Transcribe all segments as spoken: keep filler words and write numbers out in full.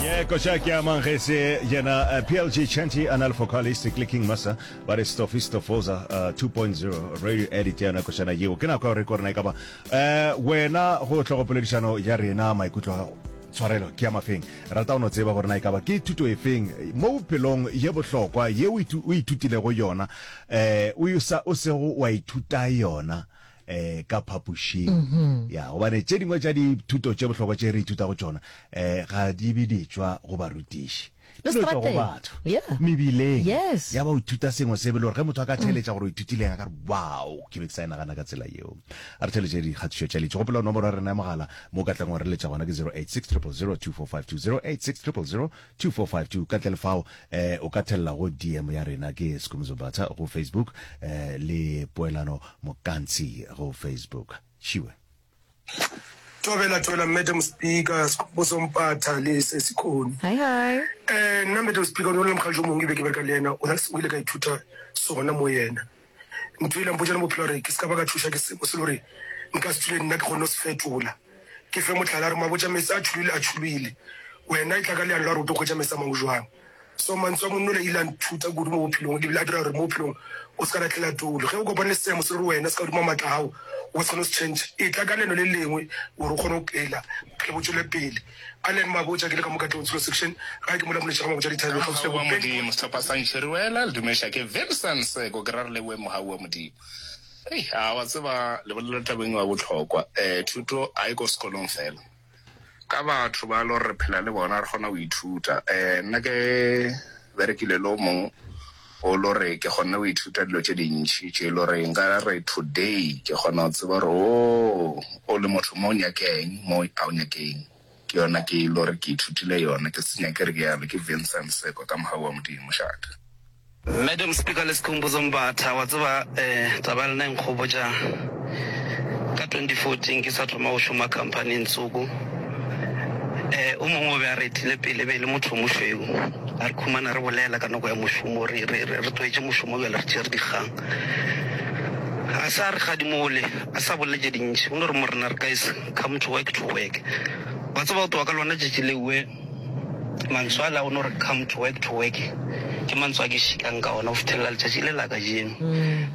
Ye koša ke a mangese yena uh, P L G Chanty anal vocalist clicking masa ba re Stofi Stofoza uh, two point zero radio edit ya yona košana yeo. Ke nako ya gore ko rena e ka ba uh, wena go tlhogopoledišano ya rena, maikutlo a gago, tshwarelo, ke ya mafeng. Rata o no tseba gore na e ka ba ke thuto efeng mo bophelong ye bohlokwa ye o ithu- o ithutilego yona, eh o sa o sego wa ithuta yona eh ka phapošing ya, gobane tše dingwe tša dithuto tše bohlokwa tše re ithutago tšona eh ga di be di tšwa go barutiši, Le di no tšwa go strateng. batho Yeah. mebileng. Yes. Ya ba o ithuta sengwe se be le gore ge motho a ka theletša gore o ithutileng, a ka re, "Wow, ke be ke sa e nagana ka tsela yeo." A re theletše dikgatišo tša litše. Gopola nomoro ya rena ya mogala mo o ka tlang wa re letša gona ke zero eight six zero zero zero two four five two, zero eight six zero zero zero two four five two. Ka ntle le fao eh o ka thelela go D M ya rena, ke Skumzobata go Facebook, eh le Poelano Mokantsi go Facebook. Šiwe. Thobela, thobela, Madam Speaker, Bosompatha le Sesikhoni. Hi, hi. um nna Madam Speaker, o ne o le mokgaljo mongwe ke be ke bereka le yena, o na le sengwe ile ka ithuta sona mo yena. Ntho ile mpotša le bophelo gore ke se ka ba ka thuša ke sengwe se le gore nka se tswile nna ke kgone go se fetola. Ke fe motlhala, a re mabotša metsi a tšhulile, a tšhulile, wena e tla ka leano la gore o tlo kgwetša metsi a mangwe jwang. So mantswe a monnola ile a nthuta kudu mo bophelong, ebile a dira gore mo bophelong o se ka latlhela toulo ge o kopane le seemo se le gore wena se ka godimo maatla a gago, o se kgone go se change. E tla ka leano le lengwe gore o kgone go phela bophelo bo tswele pele. Allen Mabotja, ke le ka mo Katlehong Tsholo section gae, ke mola moletša ga Mabotja dithabeng kgauswi le Mogau wa Bopeng. Modimo, sehlopha sa Ntšhiriwela le dumeša ke Vincent Seko, ke ra re leboe mogau wa Modimo. Ei, a wa tseba le bolela tabeng wa bohlokwa. um thuto a e ko sekolong fela, ka batho ba le gore re phela le bona re kgona go ithuta. um nna ke berekile le o mongwe o le gore ke kgonne go ithuta dilo tše dintšhi tše e le gore nka re today ke kgona go tseba gore o o le motho mo o nyakeng, mo a o nyakeng. Ke yona ke e le gore ke ithutile yona, ke se nyake re ke yalo. Ke Vincent Seko ka mogau wa Modimo, šata. Madam Speaker le Sekhumbuzo Mbatha, wa tseba um taba ya lena e nkgopotša ka twenty fourteen ke sa thoma go šoma companyng tsoko. um o mongwe o be a re etile pele, be e le motho o mošweu. A re khumana re bolela ka nako ya mošomo, re re re re tlwaetše mošomo bjale, re tšere dikgang. A sa re gadimole, a sa bolele tše dintši, o no re, "Morena, re guys, come to work to work." Wa tseba, go tloga ka lona tšatši lewe, mantswe a la o no re "come to work to work" ke mantswe a ke šikang ka ona go fithelela letšatši le la kajeno.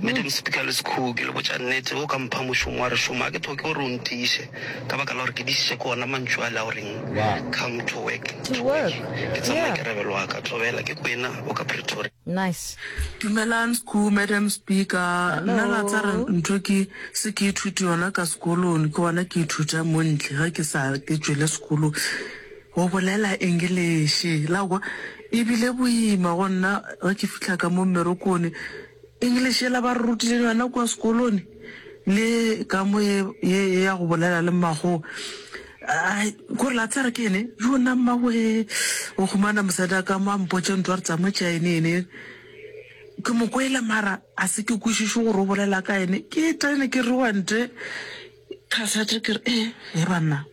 Madam Speaker le Sekhuku, ke le botša nnete, o ka mpha mošomo wa re šoma, ga ke tlhoke gore o ntiiše ka baka la gore ke dišiše ke ona mantšu a le a goreng "come to work To to work". work. Ke tsa Yeah. maikarabelo a ka. Thobela, ke Kwena o ka Pretoria. Nice. Dumelang Sku, Madam Speaker. Nna la tsa re Hello. ntho ke se ke ithute yona ka sekolong, ke gona ke ithuta mo ntle ge ke sa ke tšwele sekolong. Go bolela English la kwa ebile boima go nna ge ke fihla ka mo mmerekong. English ela ba re rutile yona kua sekolong le ka mo ye ye ya go bolela le mmago, ai kore la tsare ke ene yona mmawe. O humana mosadi a ka mo a mpotše ntho a re tsama tša ene ene, ke mo kwele mara a se ke kwešiše gore o bolela ka ene. Ke tene ke rewante cassette, ke re e e banna.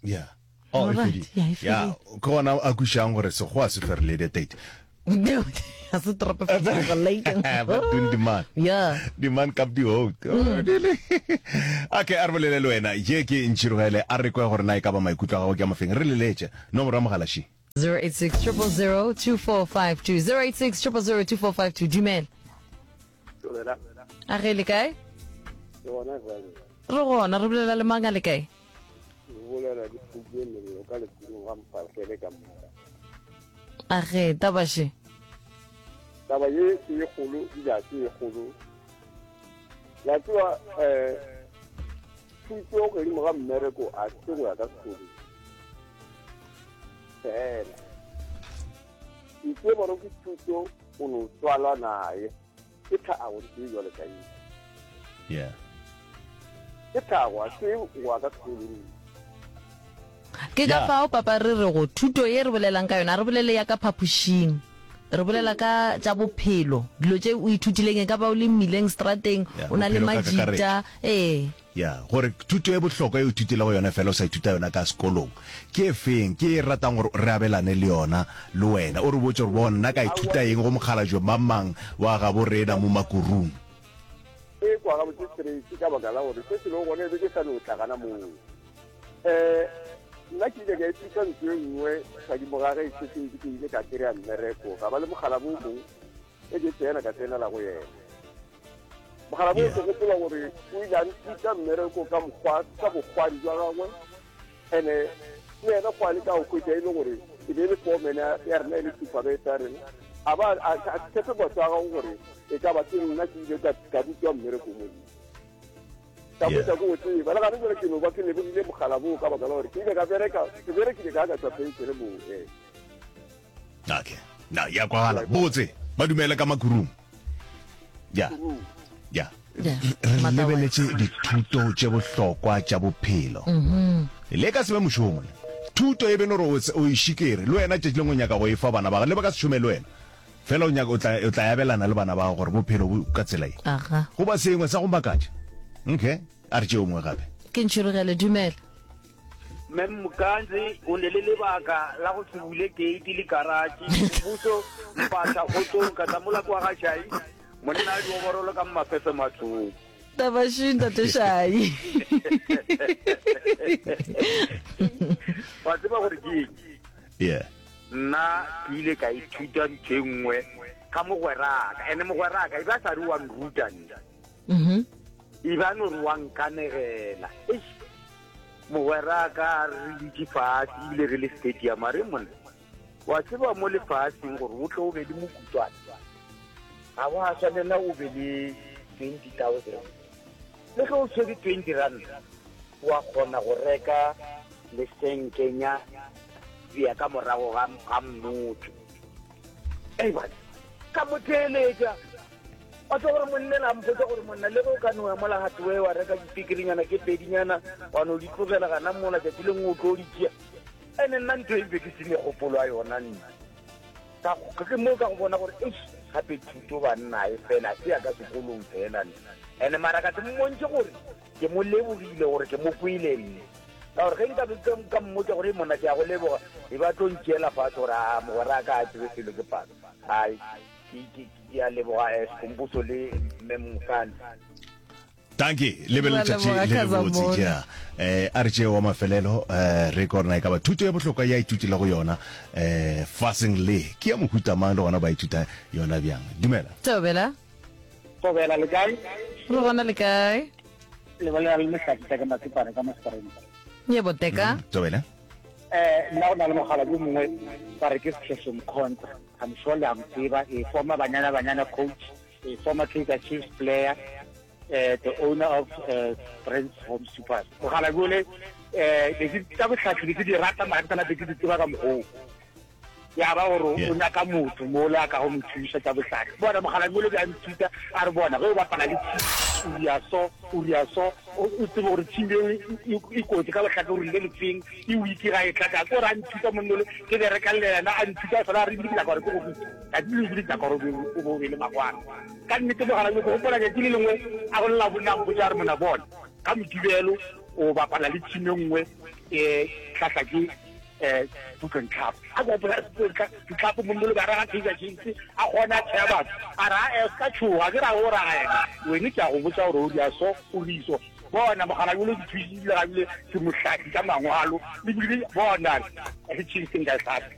Yeah, oh, e Alright, fedile. Yeah, e Ya, fedile. ke gona a kwišang gore sekgowa se ferile date. Ga se trope vergelijking. Wat doen die man? Yeah. Die man kap die hout. Okay, a re bolele le wena. Ye ke Ntšhirogele, a re kwe gore na e ka ba maikutlo a gago ke a mafeng. Re leletše. Nomoro ya mogala še. zero eight six zero zero zero two four five two, zero eight six zero zero zero two four five two. Dumela. Thobela. A ge le kae? Ke gona jale. Re gona, re bolela le mang a le kae? Ke bolela le Phuke Melelo ka lekurung ga Mfahlele ka moka. A ge tabaše. Taba ye ke ye kgolo, ebile ga se ye kgolo. La tseba, um thuto godimo ga mmereko a se go ya ka sekolong fela. Ntse bone ke thuto o no tswalwa naye, ke tlhago ntse e jwale ka eng. Yeah. Ke tlhago, a se go ya ka sekolong. Ke ka Yeah. fao papa re re go thuto ye re bolelang ka yona, a re bolele ya ka phapošing, re bolela ka tša bophelo, dilo tše o ithutileng, e ka ba o le mmileng, strateng, Yeah, o na le bophelo ka majita, kakaretšo. Ee. Ya gore thuto e bohlokwa e o ithutilego yona fela o sa ithuta yona ka sekolong ke e feng, ke e ratang gore re abelane le yona le wena, o re botse gore bona nna ka ithuta eng go mokgalajwe mang wa gabo rena mo Makurung. E kwa gabotse straight ka baka la gore se se lego gone e be ke sa no tla gana moo. um Nna ke ile ka ithuta ntho e nngwe godimo ga ge e setse ke ile ka kry-a mmereko, ga ba le mogala bo mongwe e ke tsena ka tsenela go yena. Mogala bo ke gopola gore o ile a nthuta mmereko ka mokgwa ka bokgwari jwa gagwe, ene le yena go a le ka go hwetša e le gore e be e le foreman ya rena e le supervisor ya rena, a ba a tshepe batho a gago gore e ka ba ke nna ke ile ka rutwa mmereko mo. Ka botsa ko o tseba le gane jale ke no ba ke lebogile mogala boo ka baka la gore ke ile ka bereka, ke berekile ka ka tswa penšene moo. Ee. Okay, na ya kwagala botse ba dumele ka makurung ya ya re lebeletše dithuto tše bohlokwa tša bophelo le ka se be mošomo le thuto e be no gore o e šikere le wena tšatši lengwe o nyaka go e fa bana ba le ba ka se šome le wena fela o nyaka o tla o tla abelana le bana ba gore bophelo bo ka tsela ye Aga. goba sengwe sa go makatša. Okay, a re tšeo mongwe gape. Ke ntšhirogele, dumela. Mem Mkanzi o ne le lebaka la go se bule gate le garage. Mmuso mpatla kgotsong ka tla mola kwa ga Shai. Monna a dioborolo ka mmafefe mathong. Tabaši ntate Shai. Wa tseba gore ke eng? Yeah. Nna ke ile ka ithuta ntho e nngwe ka mogweraka, ene mogweraka e ba sa re wa nruta nna. Mhm. E ba no re wa nkanegela. Eish, mogweraka re dutše fatshe ebile re le stadium, a re monna, wa tseba mo lefaseng gore o tle o be le mokutwana, ga wa swanela o be le twenty thousand. Le ge o tshwere twenty rand, wa kgona go reka lesenkenya bea ka morago ga, ga mmotho. Ei bana, ka mo theeletša. Wa tseba gore monna la mpotsa gore monna le ge o ka no ya mola hardware wa reka dipikirinyana ke pedinyana wa no di tlogela gana mola tšatši lengwe o tlo di tšea. Ene nna ntho e be ke se megopolo ya yona nna. Ka, ke mo ka go bona gore eish gape thuto banna e fela se ya ka sekolong fela nna. Ene mara ka se mmontšhe gore ke mo lebogile gore ke mo kwele nne. Ka gore ge nka be ka mmotša gore monna ke a go leboga, e ba tlo ntšeela fatshe gore a mogwera ka a tsebe selo ke palo. Hai, ke ke a leboga eh, Sekhumbuso le Mme Mokane. Dankie, le be Ra letšatši leboga le lebotse Kazamona. ja. Eh a re tšee wa mafelelo eh re ko rena e ka ba thuto ya bohlokwa ya ithutilego yona eh faseng le ke ya mohuta mang le gona ba ithuta yona bjang. Dumela. Thobela. Thobela le kae? Re gona le kae? Le bolela le Mohlakisa ke Matsipane ka Mospareng. Yebo teka. Mm, Thobela. Eh nna go na le mogala yo mongwe ba re ke Sekheso Mkhonta. I'm sure le a mo tseba, a former Banyana Banyana coach, a former Kaizer Chiefs player, uh, the owner of uh, Brands Home Supers. Mogala jole eh be ke tsa bohlahli be ke di rata mara ke sana be ke di tseba ka mokgoo. Ya ba gore Yeah. o nyaka motho mola a ka go mo thuša tsa bohlahli. Bona mogala jole be a nthuta a re bona ge o bapala le team o ria so o ria so o o tsebe gore team eo e- e e kotsi ka bohlahli o rile lefeng e weak ga e tla ka ko re a nthuta monnole ke bereka le yena a nthuta fela a re ebile ke nyaka gore ke go rute tsatsi le ebile ke nyaka gore o be- o be o be le magwana ka nnete mogala ke gopola tšatši le lengwe a go lela bonna mpotsa a re mona bona ka Mokibelo o bapala le team e nngwe um tlhahla ke um Putlong Tlhapo a ke gopola Ditlhapo monnole ba raga Kaizer Chiefs a kgona a tšhea batho a re a se ka tšhoga ke ra o raga yena wene ke a go botsa gore o dia so o riso bona mogala jole ke thusile gabile ke mohlahli ka mangwalo le bile bona Chiefs nka e hlahla.